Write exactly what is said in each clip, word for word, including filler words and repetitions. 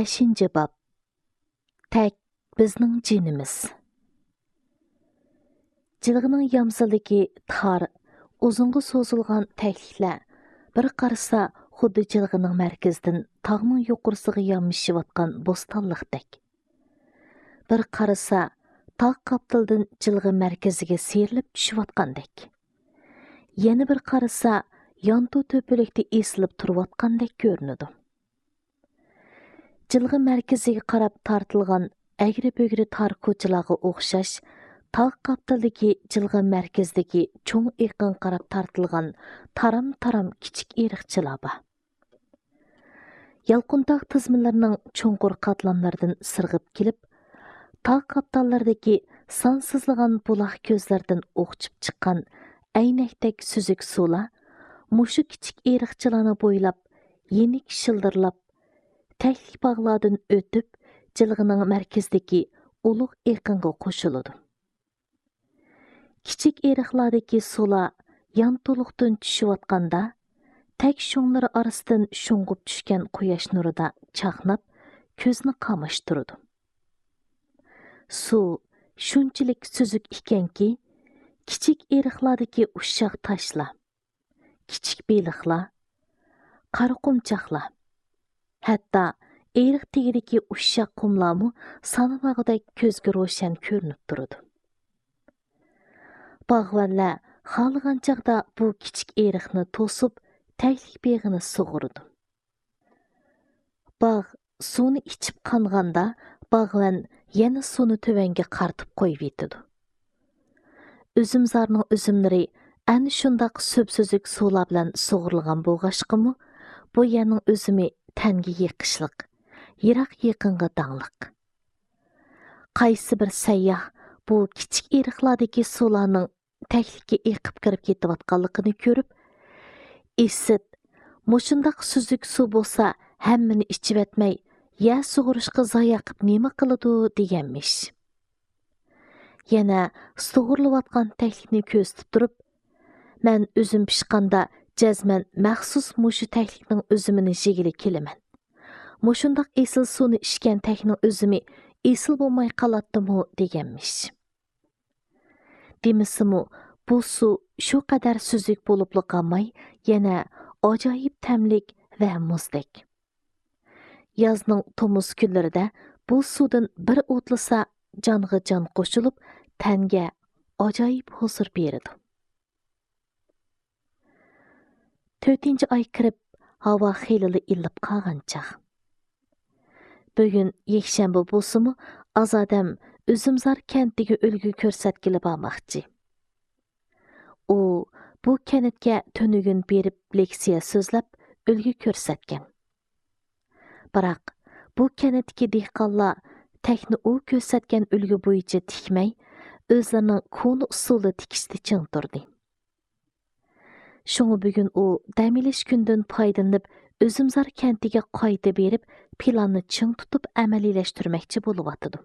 بەشىنچى باب. تەك بىزنىڭ جېنىمىز. جىلغىنىڭ يامىسىدىكى تار، ئۇزۇنغا سوزۇلغان تەكلىكلەر بىر قارىسا خۇددى جىلغىنىڭ مەركىزىدىن تاغنىڭ يۇقىرىسىغا يامىشىۋاتقان بوستانلىقتەك. بىر قارىسا تاغ قاپتىلىدىن جىلغا مەركىزىگە سىيرىلىپ چۈشۈۋاتقاندەك. يەنە بىر قارىسا يانتۇ تۆپىلىكتە ئېسىلىپ تۇرۇۋاتقاندەك كۆرۈنىدۇ. جىلغا مەركىزىگە قاراپ تارتىلغان ئەگرى-بۈگرى تار كوچىلارغا ئوخشاش، تاغ قاپتىلىدىكى جىلغا مەركىزىدىكى چوڭ ئېقىنغا قاراپ تارتىلغان تارام-تارام كىچىك ئېرىقچىلار بار. يالقۇنتاغ تىزمىلىرىنىڭ چوڭقۇر قاتلاملىرىدىن سىرغىپ كېلىپ، تاغ قاپتاللىرىدىكى سانسىزلىغان بۇلاق كۆزلىرىدىن ئوقچۇپ چىققان ئەينەكتەك سۈزۈك سۇلار مۇشۇ كىچىك ئېرىقچىلارنى بويلاپ، يېنىك شىلدىرلاپ، تەكلىك باغلاردىن ئۆتۈپ، جىلغىنىڭ مەركىزىدىكى ئۇلۇغ ئېقىنغا قوشۇلىدۇ. كىچىك ئېرىقلاردىكى سۇلار يانتۇلۇقتىن چۈشۈۋاتقاندا، تەك شوڭلىرى ئارىسىدىن شۇڭغۇپ چۈشكەن قۇياش نۇرىدا چاقناپ، كۆزنى قاماشتۇرىدۇ. سۇ شۇنچىلىك سۈزۈك ئىكەنكى، كىچىك ئېرىقلاردىكى ئۇششاق تاشلار، كىچىك بېلىقلار، قارا قۇمچاقلار، ھەتتا ئېرىق تېگىدىكى ئۇششاق قۇملارمۇ سانىمىغۇدەك كۆزگە روشەن كۆرۈنۈپ تۇرىدۇ. باغۋەنلەر خالىغان چاغدا بۇ كىچىك ئېرىقنى توسۇپ، تەكلىك بېغىنى سۇغۇرىدۇ. باغ سۇنى ئىچىپ قانغاندا، باغۋەن يەنە سۇنى تۆۋەنگە قارىتىپ قويۇۋېتىدۇ. ئۈزۈمزارنىڭ ئۈزۈملىرى ئەنە شۇنداق سۈپسۈزۈك سۇلار بىلەن سۇغۇرۇلغان بولغاچقىمۇ، بۇ يەرنىڭ ئۈزۈمى تەنگە يېقىشلىق، يىراق يېقىنغا داڭلىق. قايسى بىر سەيياھ بۇ كىچىك ئېرىقلاردىكى سۇلارنىڭ تەكلىككە ئېقىپ كىرىپ كېتىۋاتقانلىقىنى كۆرۈپ، ئىسىت، مۇشۇنداق سۈزۈك سۇ بولسا ھەممىنى ئىچىۋەتمەي، يەر سۇغۇرۇشقا زايە قىپ نېمە قىلىدۇ دېگەنمىش. يەنە سۇغۇرۇلۇۋاتقان تەكلىكنى كۆزىتىپ تۇرۇپ، مەن ئۈزۈم پىشقاندا جەزمەن مەخسۇس مۇشۇ تەكلىكنىڭ ئۈزۈمىنى يېگىلى كېلىمەن. مۇشۇنداق ئېسىل سۇنى ئىچكەن تەكنىڭ ئۈزۈمى ئېسىل بولماي قالاتتىمۇ دېگەنمىش. دېمىسىمۇ، بۇ سۇ شۇ قەدەر سۈزۈك بولۇپلا قالماي، يەنە ئاجايىپ تەملىك ۋە مۇزدەك. يازنىڭ تومۇز كۈنلىرىدە بۇ سۇدىن بىر ئۇتلىسا، جانغا جان قوشۇلۇپ، تەنگە ئاجايىپ ھۇزۇر بېرىدۇ. تۆتىنچى ئاي كىرىپ، ھاۋا خېلىلا ئىللىپ قالغان چاغ. بۈگۈن يەكشەنبە بولسىمۇ، ئازادەم ئۈزۈمزار كەنتىگە ئۈلگە كۆرسەتكىلى بارماقچى. ئۇ بۇ كەنتكە تۈنۈگۈن بېرىپ لېكسىيە سۆزلەپ، ئۈلگە كۆرسەتكەن. بىراق، بۇ كەنتتىكى دېھقانلار تەكنى ئۇ كۆرسەتكەن ئۈلگە بويىچە تىكمەي، ئۆزلىرىنىڭ كونا ئۇسۇلىدا تىكىشتە چىڭ تۇردى. شۇڭا بۈگۈن ئۇ دەم ئېلىش كۈنىدىن پايدىلىنىپ، ئۈزۈمزار كەنتىگە قايتا بېرىپ، پىلاننى چىڭ تۇتۇپ ئەمەلىيلەشتۈرمەكچى بولۇۋاتىدۇ.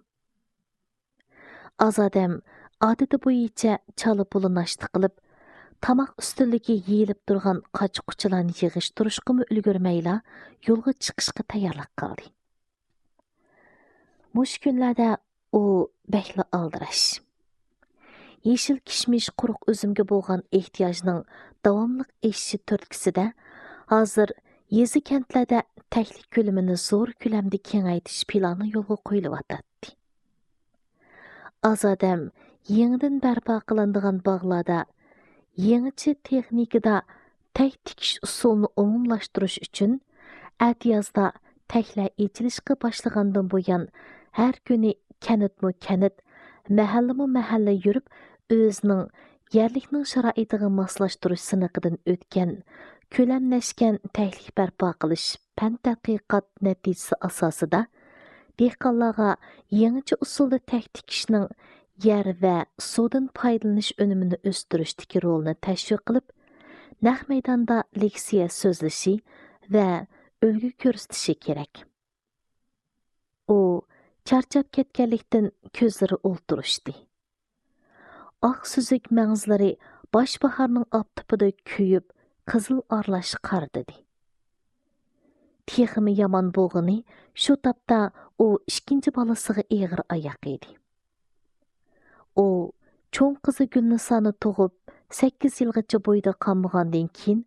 ئازادەم ئادىتى بويىچە چالا-پۇلا ناشتا قىلىپ، تاماق ئۈستىلىگە يېيىلىپ تۇرغان قاچا-قۇچىلارنى يىغىشتۇرۇشقىمۇ ئۈلگۈرمەيلا، يولغا چىقىشقا تەييارلىق قىلدى. مۇشۇ كۈنلەردە ئۇ بەكلا ئالدىراش. يېشىل كىشمىش، قۇرۇق ئۈزۈمگە بولغان ئېھتىياجنىڭ داۋاملىق ئېشىشى تۈرتكىسىدە، ھازىر يېزا-كەنتلەردە تەكلىك كۆلىمىنى زور كۆلەمدە كېڭەيتىش پىلانى يولغا قويۇلۇۋاتاتتى. ئازادەم يېڭىدىن بەرپا قىلىنىدىغان باغلاردا يېڭىچە تېخنىكىدا تەك تىكىش ئۇسۇلىنى ئومۇملاشتۇرۇش ئۈچۈن، ئەتىيازدا تەكلەر ئېچىلىشقا باشلىغاندىن بۇيان، ھەر كۈنى كەنتمۇ كەنت، مەھەللىمۇ مەھەللە يۈرۈپ، ئۆزىنىڭ يەرلىكنىڭ شارائىتىغا ماسلاشتۇرۇش سىنىقىدىن ئۆتكەن، كۆلەملەشكەن تەكلىك بەرپا قىلىش پەن تەتقىقات نەتىجىسى ئاساسىدا، دېھقانلارغا يېڭىچە ئۇسۇلدا تەك تىكىشنىڭ يەر ۋە سۇدىن پايدىلىنىش ئۈنۈمىنى ئۆستۈرۈشتىكى رولىنى تەشۋىق قىلىپ، نەق مەيداندا لېكسىيە سۆزلىشى ۋە ئۈلگە كۆرسىتىشى كېرەك. ئۇ چارچاپ كەتكەنلىكتىن كۆزلىرى ئولتۇرۇشتى. ئاق سۈزۈك مەڭزىلىرى باش باھارنىڭ ئاپتىپىدا كۆيۈپ، قىزىل ئارىلاش قارىدىدى. تېخىمۇ يامان بولغىنى، شۇ تاپتا ئۇ ئىككىنچى بالىسىغا ئېغىر ئاياق ئىدى. ئۇ چوڭ قىزى گۈلنىسانى تۇغۇپ، سەككىز يىلغىچە بويىدا قالمىغاندىن كېيىن،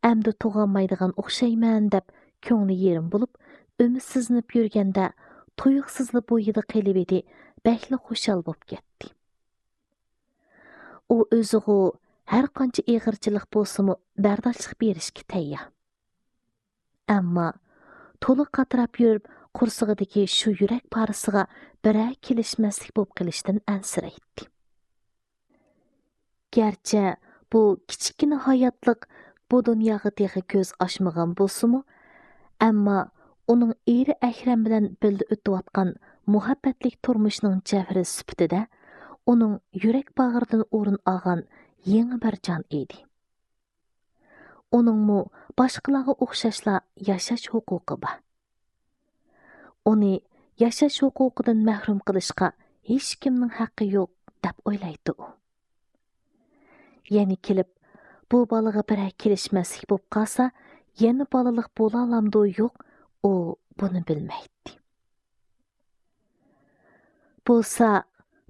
ئەمدى تۇغالمايدىغان ئوخشايمەن دەپ كۆڭلى يېرىم بولۇپ، ئۈمىدسىزلىنىپ يۈرگەندە، تۇيۇقسىزلا بويىدا قېلىۋىدى، بەكلا خۇشال بولۇپ كەتتى. ئۇ ئۆزىغۇ ھەر قانچە ئېغىرچىلىق بولسىمۇ بەرداشلىق بېرىشكە تەييار. ئەمما تولا قاتراپ يۈرۈپ، قورسىقىدىكى شۇ يۈرەك پارىسىغا بىرەر كېلىشمەسلىك بولۇپ قېلىشتىن ئەنسىرەيتتى. گەرچە بۇ كىچىككىنە ھاياتلىق بۇ دۇنياغا تېخى كۆز ئاچمىغان بولسىمۇ، ئەمما ئۇنىڭ ئېرى ئەكرەم بىلەن بىللە ئۆتۈۋاتقان مۇھەببەتلىك تۇرمۇشنىڭ جەۋھىرى سۈپىتىدە ئۇنىڭ يۈرەك باغرىدىن ئورۇن ئالغان يېڭى بىر جان ئىدى. ئۇنىڭمۇ باشقىلارغا ئوخشاشلا ياشاش ھوقۇقى بار. ئۇنى ياشاش ھوقۇقىدىن مەھرۇم قىلىشقا ھېچكىمنىڭ ھەققى يوق، دەپ ئويلايتتى ئۇ. يەنە كېلىپ، بۇ بالىغا بىرەر كېلىشمەسلىك بولۇپ قالسا، يەنە بالىلىق بولالامدۇ يوق، ئۇ بۇنى بىلمەيتتى. بولسا،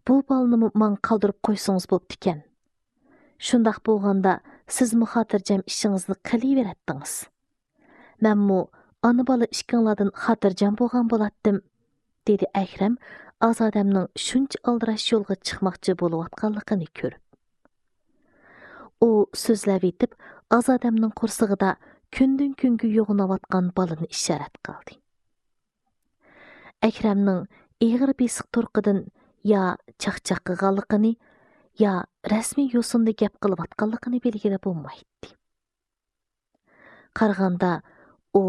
بۇ بالىنىمۇ ماڭا قالدۇرۇپ قويسىڭىز بوپتىكەن. شۇنداق بولغاندا، سىزمۇ خاتىرجەم ئىشىڭىزنى قىلىۋېرەتتىڭىز. مەنمۇ ئانا-بالا ئىككىڭلاردىن خاتىرجەم بولغان بولاتتىم، دېدى ئەكرەم ئازادەمنىڭ شۇنچە ئالدىراش يولغا چىقماقچى بولۇۋاتقانلىقىنى كۆرۈپ. ئۇ سۆزلەۋېتىپ، ئازادەمنىڭ قورسىقىدا كۈندىن-كۈنگە يوغىناۋاتقان بالىنى ئىشارەت قىلدى. ئەكرەمنىڭ ئېغىر بېسىق تۇرقىدىن يا چاقچاق قىلغانلىقىنى، يا رەسمىي يوسۇندا گەپ قىلىۋاتقانلىقىنى بىلگىلى بولمايتتى. قارىغاندا، ئۇ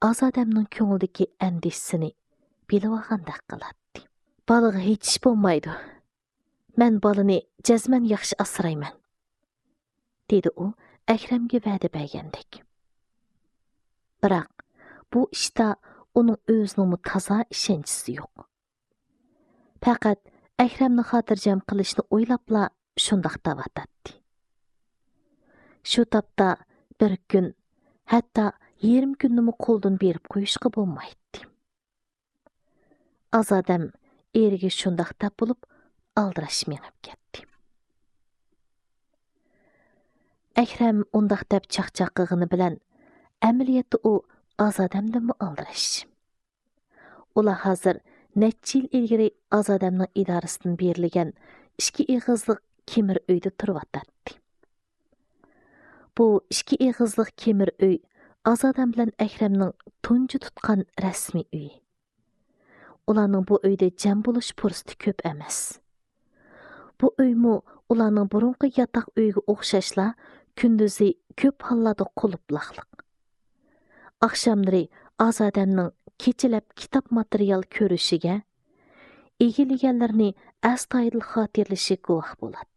ئازادەمنىڭ كۆڭلىدىكى ئەندىشىسىنى بىلىۋالغاندەك قىلاتتى. بالىغا ھېچ ئىش بولمايدۇ. مەن بالىنى جەزمەن ياخشى ئاسرايمەن، دېدى ئۇ ئەكرەمگە ۋەدە بەرگەندەك. بىراق، بۇ ئىشتا ئۇنىڭ ئۆزىنىڭمۇ تازا ئىشەنچىسى يوق. پەقەت ئەكرەمنى خاتىرجەم قىلىشنى ئويلاپلا شۇنداق دەۋاتاتتى. شۇ تاپتا بىر كۈن، ھەتتا يېرىم كۈننىمۇ قولدىن بېرىپ قويۇشقا بولمايتتى. ئازادەم ئېرىگە شۇنداق دەپ بولۇپ، ئالدىراش مېڭىپ كەتتى. ئەكرەم ئۇنداق دەپ چاقچاق قىلغىنى بىلەن، ئەمەلىيەتتە ئۇ ئازادەمدىنمۇ ئالدىراش. ئۇلار ھازىر نەچچە يىل ئىلگىرى ئازادەمنىڭ ئىدارىسىدىن بېرىلگەن ئىككى ئېغىزلىق كېمىر ئۆيدە تۇرۇۋاتاتتى. بۇ ئىككى ئېغىزلىق كېمىر ئۆي ئازادەم بىلەن ئەكرەمنىڭ تۇنجى تۇتقان رەسمىي ئۆيى. ئۇلارنىڭ بۇ ئۆيدە جەم بولۇش پۇرسىتى كۆپ ئەمەس. بۇ ئۆيمۇ ئۇلارنىڭ بۇرۇنقى ياتاق ئۆيىگە ئوخشاشلا كۈندۈزى كۆپ ھاللاردا قۇلۇپلاقلىق. ئاخشاملىرى ئازادەمنىڭ كېچىلەپ كىتاب ماتېرىيال كۆرۈشىگە، ئىگىلىگەنلىرىنى ئەستايىدىل خاتىرىلىشىگە گۇۋاھ بولاتتى.